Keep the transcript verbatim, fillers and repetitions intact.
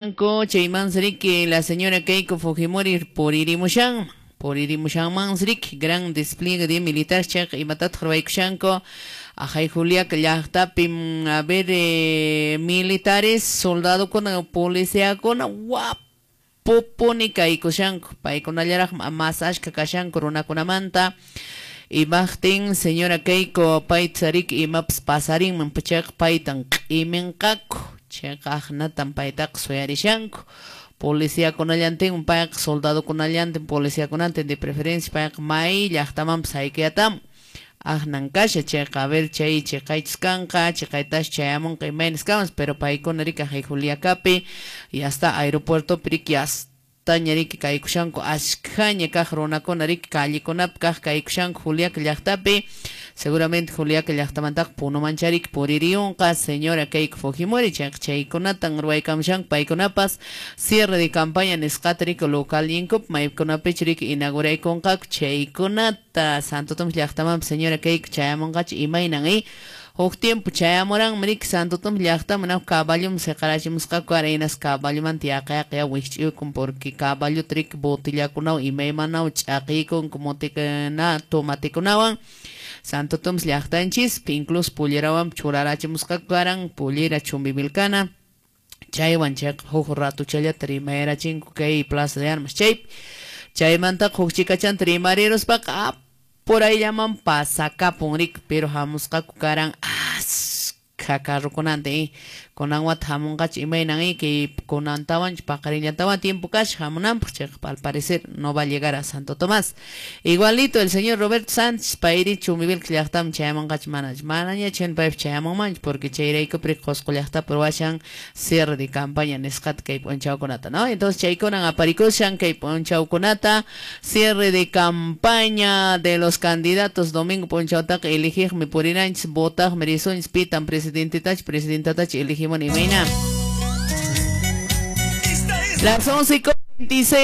Chaymansi la señora Keiko Fujimori puririmushan, puririmushanmansi gran despliegue de militar chayqa imatataq ruwaykushanku ajay Juliaca llaqtapi, a ver, eh, militares, soldadokuna, policiakuna wapupuni kaykushanku, paykunallaraq mas ashka kashanku runakunamanta. Imaqtin señora Keiko payta riki imapas pasarinman chayqa paytan q'iminqaku, chayqa aqnatan paytaqa suyarishanku. Policiakunallantin payqa soldadokunallantin policiakunantin de preferencia payqa may llaqtamanpas haykuyatamun aqnan kasha chayqa, a ver, chay chiqaychis kanqa, chiqaytash chayamunqa imaynas kanpas, pero paykuna riki ajay Juliacapi y hasta aeropuertopi riki taña riki kaykushanku ashkhaña kaq runakuna riki callekunapi kaq kaykushanku Juliaca llaqtapi, seguramente Juliaca llaqtamantaqa Punumancha riki puririyunqa señora Keiko Fujimori, chayqa chaykunatan ruwaykamushanku paykunapas cierre de campaña nisqata riki localninkupi maykunapichu riki inauguraykunqaku chaykunata. Santo Tomás llaqtamanpas señora Keiko chayamunqachu imaynan eh huk tiempo chayamuranmi riki Santo Tomás llaqtaman huk caballoman siqarachimusqaku arenas caballomanta yaqa yaqa wikch'uykun porque caballota riki botillakunawan imaymanawan ch'aqiykunku motikuna tomatekunawan Santo Tomás llaqtanchispi, incluso pollerawan churarachimusqaku karan pollera Chumbivilcana chaywan chayqa huk ratuchallata rimayrachinku kay Plaza de Armas chaypi, chaymantaqa huk chikachanta rimariruspaqa porayllaman pasakapun riki, pero hamusqaku karan askha carrokunanta eh kunan wata hamunqachu imaynan eh kay kunantawanchu paqarinllatawan tiempo kasha hamunanpaq, chayqa al parecer no va a llegar a Santo Tomás. Igualito el señor Roberto Sánchez payri Chumbivilcas llaqtaman chayamunqachu manachu, manañachu paypi chayamunmanchu porque chayraykupi Qusqu llaqtapi ruwashan cierre de campaña nisqata kay p'unchawkunata, ¿no? Entonces chaykunan aparikushan kay p'unchawkunata cierre de campaña de los candidatos domingo p'unchawtaqa eligiqmi purinanchis votaqmi risunchis pitan presidentetachu presidentatachu elegimos imayna. Las once y veintiséis.